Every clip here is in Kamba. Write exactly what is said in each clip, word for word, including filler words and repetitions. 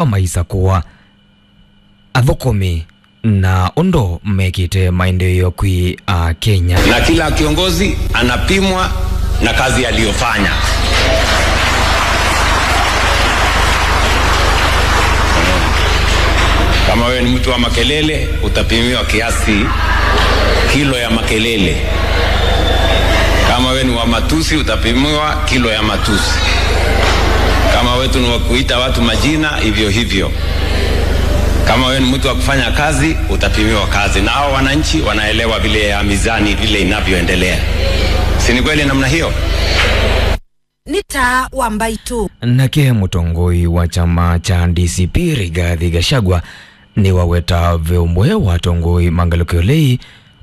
maisakũa athũkũmi na ũndũ mekĩte maendeeo kwĩ Akenya. Na kila kiongozi anapimwa na kazi aliyofanya. Kama wewe ni mtu wa makelele, utapimiwa kiasi kilo ya makelele. Kama wewe ni wa matusi, utapimiwa kilo ya matusi. Kama wetu ni wa kuita watu majina, hivyo hivyo. Kama wewe ni mtu wa kufanya kazi, utapimiwa kazi. Na hao wananchi wanaelewa vile ya mizani vile inavyoendelea. Si ni kweli namna hiyo? Nĩ Taa wa Mbaitũ. Nake mũtongoi wa kyama kya D C P Rigathi Gachagua nĩwaweta ve ũmwe wa atongoi ma ngalĩko ya ũlei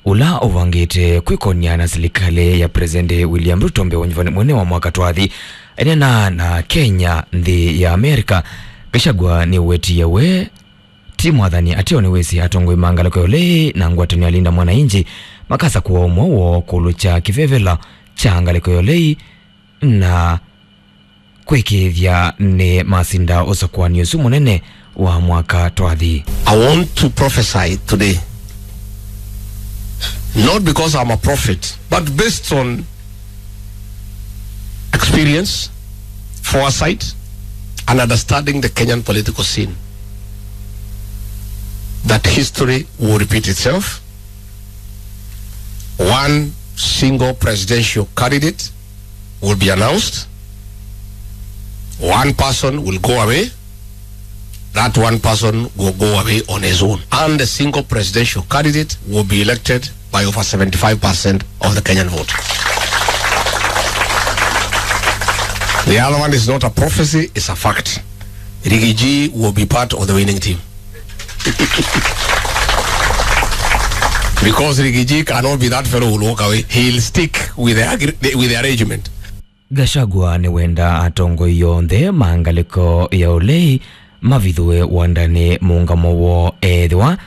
ũla ũvangĩte kwĩkonia na silikalĩ ya President William Ruto mbee wa ũnyuvani mũnene wa mwaka twathi. Eneena na Kenya nthĩ ya Amerika, Gachagua nĩwetie we ti mwathani ateo nĩwĩsĩ atongoi ma ngalĩko ya ũlei na ngwatanĩo ya Linda Mwananchi makasakũa ũmwe woo kũlũ kya kĩvevelo kya ngalĩko ya ũlei na kwĩkĩĩthya nĩ masinda ũsakũani ũsu mũnene wa mwaka twathi. I want to prophesy today, not because I'm a prophet, but based on experience, foresight, and understanding the Kenyan political scene, that history will repeat itself. One single presidential candidate will be announced. One person will go away. That one person will go away on his own. And the single presidential candidate will be elected by over seventy-five percent of the Kenyan vote. The other one is not a prophecy, it's a fact. Riggy G will be part of the winning team. Because Riggy G cannot be that fellow who will walk away. He'll stick with the, agre- with the arrangement. Gachagua nĩwenda atongoi onthe ma ngalĩko ya ũlei mavithũe wandanĩ mũũngamo woo ethĩwa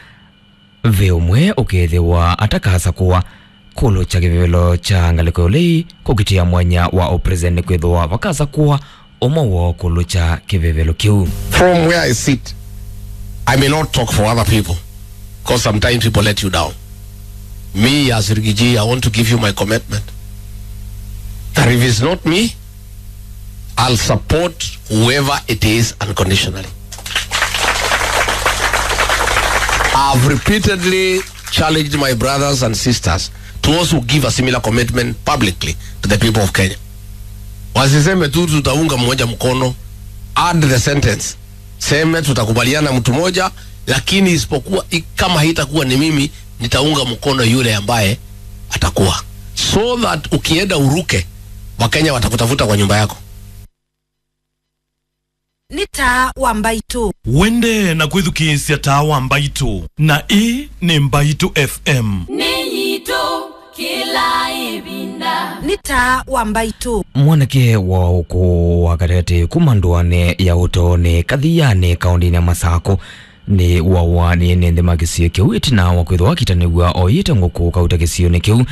ve ũmwe ũkethĩwa atakasakũa kũlũ kya kĩvevelo kya ngalĩko ya ũlei kũkitĩa mwanya wa ũpresident kwĩthĩwa vakasakũa ũmwe woo kũlũ kya kĩvevelo kĩu. From where I sit, I may not talk for other people, because sometimes people let you down. Me, as Riggy G, I want to give you my commitment that if it's not me, I'll support whoever it is unconditionally. I've repeatedly challenged my brothers and sisters to also give a similar commitment publicly to the people of Kenya. Wasiseme tu tutaunga mmoja mkono, add the sentence. Seme tutakubaliana mtu moja, lakini isipokuwa i- kama haitakuwa ni mimi, nitaunga mkono yule ambaye atakuwa. So that ukienda uruke, Wakenya watakutafuta kwa nyumba yako. Nĩ Taa wa Mbaitũ. Wende na kwĩthukĩĩsya Taa wa Mbaitũ, na ĩĩ nĩ Mbaitũ F M. Nĩ yitũ kĩla ĩvinda. Nĩ Taa wa Mbaitũ. Mwanake wa ũkũũ wa katĩkatĩ kuma ndũanĩ ya Ũtoonĩ Kathianĩ kaũndĩnĩ ya Masakũ nĩwawa nĩ ene nthĩ ma kĩsio kĩu ĩtina wa kwĩthĩwa akitanĩw'a oyĩte ngũkũ kauta kĩsionĩ kĩu.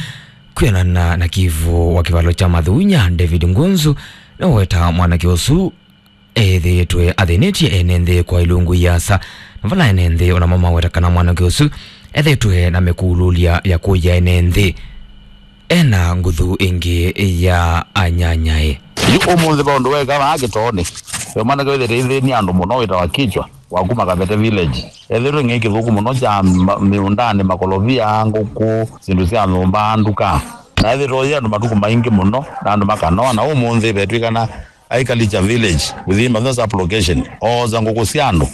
Kwĩanana na kivu wa kĩvalo kya Mathunya, David Ngunzu nĩwaweta mwanake ũsu ethĩĩtwe athĩnĩtye ene nthĩ kwa ilungu iasa, na vala ene nthĩ onamo maweta kana mwanake ũsu ethĩĩtwe na mĩkũlũlya ya kũya ene nthĩ ena nguthu ĩngĩ ya anyanyae. Yu ũmũnthĩ ve ũndũ weka vaa Kĩtoonĩ. Ve mwanake wĩthĩte ithĩni andũ mũno wĩtawa Kichwa wa kuma Kavete Village. Ethĩtwe ng'ei kĩthũku mũno kya ma- mĩũndanĩ, makolovia, ngũkũ, syĩndũ sya nyũmba, nduka. Na ethĩtwe oye andũ matukũ maingĩ mũno, na andũ makanoa, na ũmũnthĩ vetw'ĩkana Aikalicha Village within Mathiosa Sub-location, oosa ngũkũ sya andũ,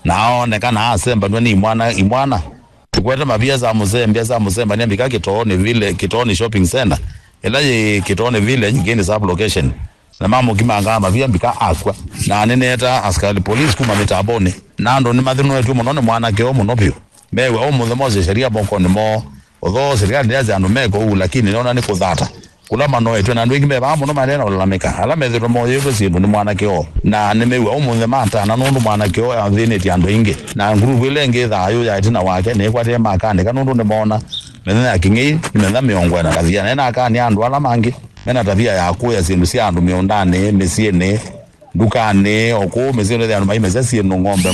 na aonekana asembanw'a nĩ imwana, imwana. Tũkwete mavia sa mũsembia, sa mũsembania mbika Kĩtoonĩ Village, Kĩtoonĩ Shopping Center, ĩla yĩ Kĩtoonĩ Village, Ngĩni Sub-location. Na mamũkimangaa mavia mbika akw'a. Na nĩneeta asikali police kuma mĩtambonĩ. Na andũ nĩmathĩnũetw'e mũno nĩ mwanake ũũ mũno vyũ. Mew'a ũmũnthĩ mose sheria mokonĩ moo. Although serikali ndĩasya andũ meke ũu, lakini nĩona nĩ kũthata kũla manoetw'e, na andũ aingĩ me vaa mũno maendee na ũlalamĩka, ala methĩtwe moyĩtwe syĩndũ nĩ mwanake oo, na nĩmew'a ũmũnthĩ matana nũndũ mwanake oo athĩnĩtye andũ aingĩ. Na nguruvu ĩla ĩngĩ thayũ ya ĩtina wake nĩĩkwatĩe makandĩka nũndũ nĩmoona mĩthenya ya kĩng'ei nĩ mĩthenya mĩongo ĩna kathiana, na ĩnakania andũ ala mangĩ mena tavia ya kũya syĩndũ sya andũ mĩũndanĩ, mĩsyĩnĩ, ndukanĩ, o kũu mĩsyĩ nĩthĩa andũ maimesya syĩndũ, ng'ombe,